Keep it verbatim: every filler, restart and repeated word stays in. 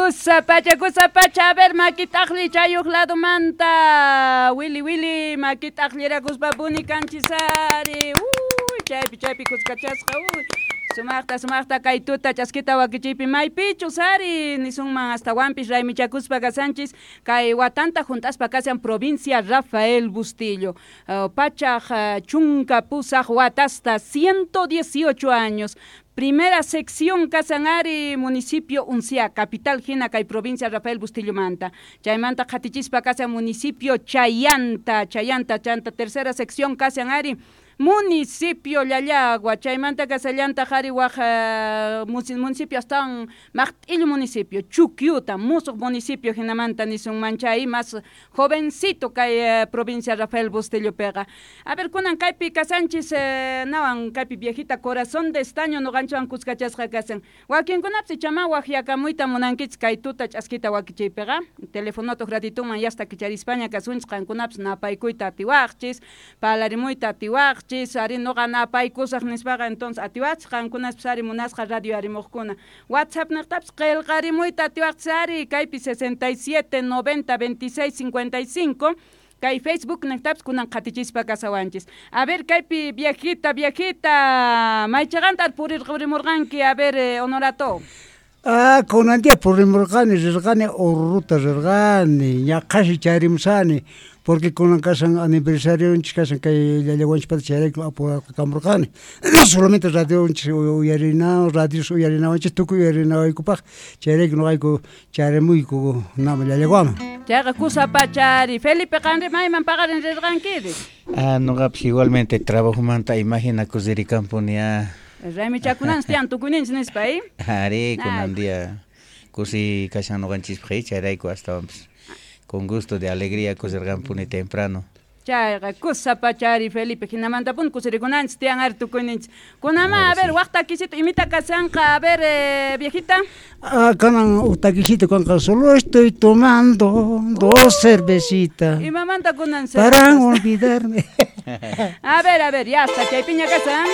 Kusa pacha, kusa pacha, a ver, makitaqli chayuq ladumanta. Willy, Willy, makitaqlirakuspa puni kanchisari. Uy, chaypi, chaypi kuskachasqa, uy. Sumaqta, sumaqta kay tuta chaskita wakichiypi maypichus ari nisunman astawanpis raymichakuspa kasanchis kay watanta junt'aspa kashan provincia Rafael Bustillo. Uh, pachaq uh, chunka pusaq watasta ciento dieciocho años. Primera sección kasan ari municipio Uncia, capital hina kay provincia Rafael Bustillo manta. Chaymanta qatichispa kasan municipio Chayanta, Chayanta, chanta tercera sección kasan ari municipio Llallagua, chaymanta kasallanta qhari waq uh, municipio astawan maqt'illu municipio, Chukyuta, musuq municipio hinamanta nisunman chay más jovencito kay uh, provincia Rafael Bustillo piqa. A ver, kunan kaypi kasanchis uh, nawan kaypi viejita corazón de estaño nuqanchwan kuskachasqa kasan. Wakinkunapis ichama waqyakamuyta munankichis kay tuta ch'askita wakichiypiqa. Telefonoto ratituman yasta kicharispaña kasunchis qankunapis napaykuyta atiwaqchis, palarimuyta atiwaqchis, ari noqa napaykusaq nispaqa entonces atiwachis qankunapis ari munasqa radio arimuqkuna. WhatsApp niqtapis qillqarimuyta atiwaqchis ari kaypi sesenta y siete noventa veintiséis cincuenta y cinco kay Facebook niqtapis kunan qatichispa kasawanchis. A ver kaypi viejita, viejita, maychaqanta purirqurimurqanki, a ver eh, Honorato. Ah, kunan día purimurqani, rirqani, Oruruta rirqani, ñaqhashi chayrimusani, porque kunan kasan aniversarionchis kasan kay llallawanchispata chayrayku apurqakamurqani. Solamente radionchis uyarina, radios uyarinawanchis, tukuy uyarinawaykupaq, chayrayku nuqayku chayrimuyku nama llallawaman. Chayqa kusa pachari. Felipe, qanri mayman paqarin rirqankiri? Ah, nuqapis igualmente trabajomanta imaginakus ririkanpuni ah. Raymichakunanchis tiyan tukuyninchis nispa, eh? Ari, kunan día kusi kashan nuqanchispaq, chayrayku astawanpis con gusto de alegría kusirqanpuni temprano. Chayqa kusa pachari Felipe, hinamantapuni kusirikunanchis tiyan ari tukuyninchis. Kunama, a ver, waq takisito imita kasanqa, a ver, eh, viejita. Ah, kanan uq takisito kanqa, solo estoy tomando dos cervecitas. Imamanta kunan Para olvidarme. A ver, a ver, ya está, chaypiña kasan.